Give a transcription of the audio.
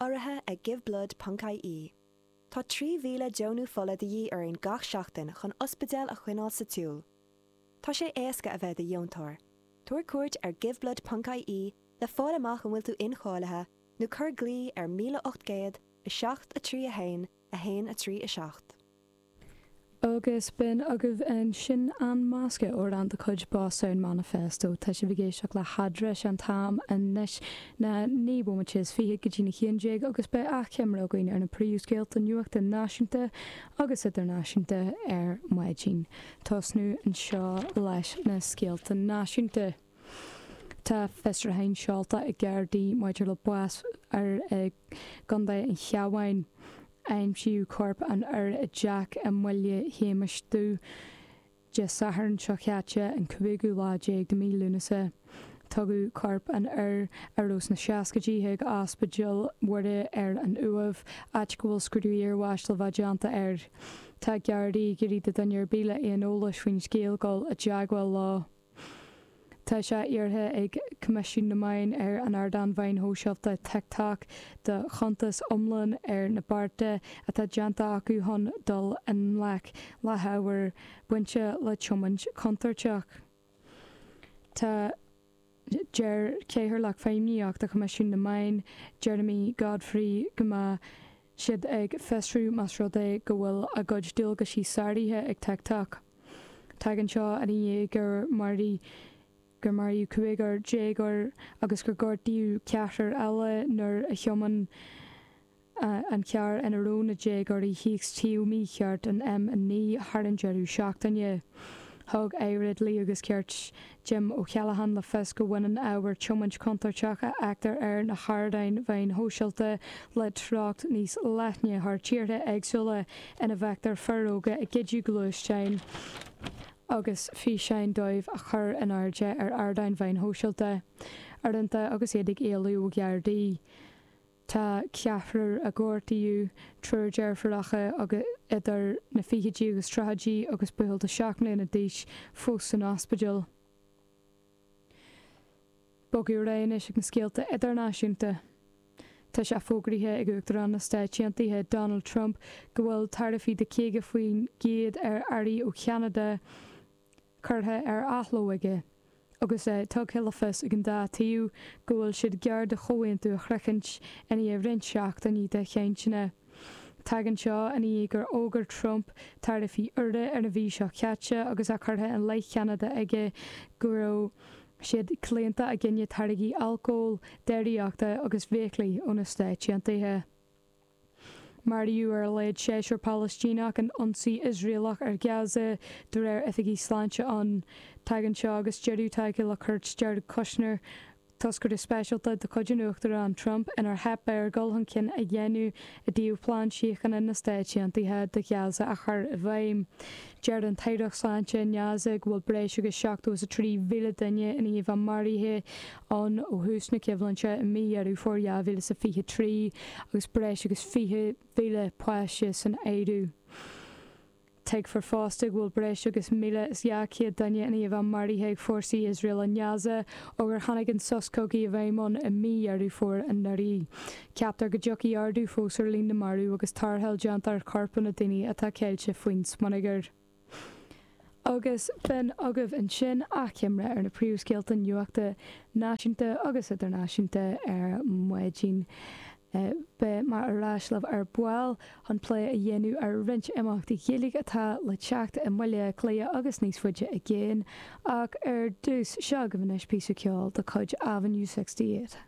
Urraithe ag Giveblood ponc ie. Tá 3,000 deonú fola de dhíth orainn gach seachtain chun ospidéil a choinneáil sa tsiúl. Tá sé éasca a bheith i do dheontóir. Tabhair cuairt ar giveblood ponc ie le fáil amach an bhfuil tú incháilithe nó cuir glao ar 1800 7 3 1 1 3 7. Agus b'in agaibh ansin An Masca, amhrán de chuid Bosstown Manifesto. Tá sibh ag éisteacht le hEadra, sé an t-am anois ná 19 bomaite go dtí'n 11 agus beidh achoimre againn ar na príomhscéalta nuachta náisiúnta agus idirnáisiúnta ar maidin. Tosnú anseo leis na scéalta náisiúnta. Tá fiosrúchán seolta ag Gardaí maidir le bás fhear i gContae an Chabháin. Aimsíodh corp an fhir i dteach i mBaile Shéamais Dubh Dé Sathairn seo chaite, an cúigiú lá déag de mhí Lúnasa. Tugadh corp an fhir, a raibh sna seascaidí, chuig Ospidéal Mhuire ar an Uaimh, áit go bhfuil scrúdú iarbháis le bheith déanta air. Tá Gardaí ag iarraidh do dhuine ar bith le aon eolas faoin scéal dul i dteagmháil leo. Tá sé iarrtha ag Coimisiún na Meán ar an ardán mheáin shóisialta TikTok do chuntas iomlán ar na bearta atá déanta acu chun dul i ngleic le hábhar bainte le tiomáint chontúirteach. Tá. Deir Cathaoirleach Feidhmíochta Choimisiún na Meán, Jeremy Godfrey go mbeidh siad ag fiosrú más rud é go bhfuil a gcuid dualgaisí sáraithe ag TikTok. Tagann seo ina dhiaidh gur maraíodh gur maraíodh cúigear déagóir agus gur gortaíodh ceathrar eile nuair a thiomáin an carr ina raibh na déagóirí thíos taobh mícheart an M9 thar an deireadh seachtaine. Thug Aire Dlí agus Cirt Jim O'Callaghan le fios go mbaineann ábhar tiomáint chontúirteach a fheictear ar na hardáin mheáin shóisialta le treocht níos leithne thar tíortha éagsúla ina bhfeictear fir óga ag goideadh gluaisteáin agus físeáin dóibh a chur in airde ar ardáin mheáin shóisialta, uaireanta agus iad ag éalú ó Ghardaí. Tá ceathrar a gortaíodh, triúr deirfiúracha agus idir na fichidí agus tríochaidí agus buachaill de 7 mbliana d'aois, fós san ospidéal. Bogadh ar aghaidh anois ag na scéalta idirnáisiúnta. Tá sé fógraithe ag Uachtarán na Stáit Aontaithe Donald Trump go bhfuil taraifí de 50% ar earraí ó Cheanada curtha ar athló aige, agus é tugtha le fios ag an dá taobh go bhfuil siad gar do chomhaontú a shroichint i ndiaidh roinnt seachtainí de chainteanna. Tagann seo i ndiaidh gur fhógair Trump taraifí úra ar an mhí seo caite agus é curtha i leith Cheanada aige go raibh siad claonta i gcoinne táirgí alcóil, déiríochta agus feithiclí ó na Stáit Aontaithe. Maraíodh ar a laghad seisear Palaistíneach in ionsaí Iosraelach ar Ghaza, de réir oifigigh sláinte ann. Tagann seo agus deireadh tagtha le cuairt Jared Kushner, toscaire speisialta de chuid an Uachtaráin Trump, inar theip air dul chun cinn a dhéanamh i dtaobh plean síochána na Stáit Aontaithe do Ghaza a chur i bhfeidhm. Deir an tAireacht Sláinte i nGaza go bhfuil breis agus 73,000 duine i ndiaidh a bheith maraithe ann ó thús na coimhlinte i mí Dheireadh Fómhair 2023 agus breis agus 20,000 páiste san áireamh. Tuigfear fosta go bhfuil breis agus 1,200 duine i ndiaidh a bheith maraithe ag fórsaí Iosrael i nGaza ó gur tháinig an sos cogaidh i bhfeidhm ann i mí Dheireadh Fómhair anuraidh. Ceaptar go dtiocfaidh ardú fós ar líon na marbh agus tarrtháil déanta ar choirp na ndaoine atá ceilte faoin smionagar. Agus b'in agaibh ansin achoimre ar na príomhscéalta nuachta náisiúnta agus idirnáisiúnta ar maidin. Beidh mé ar ais libh ar ball chun plé a dhéanamh ar roinnt imeachtaí Gaeilge atá le teacht i mBaile Átha Cliath agus níos faide i gcéin, ach ar dtús, seo agaibh anois píosa ceoil de chuid Avenue 68.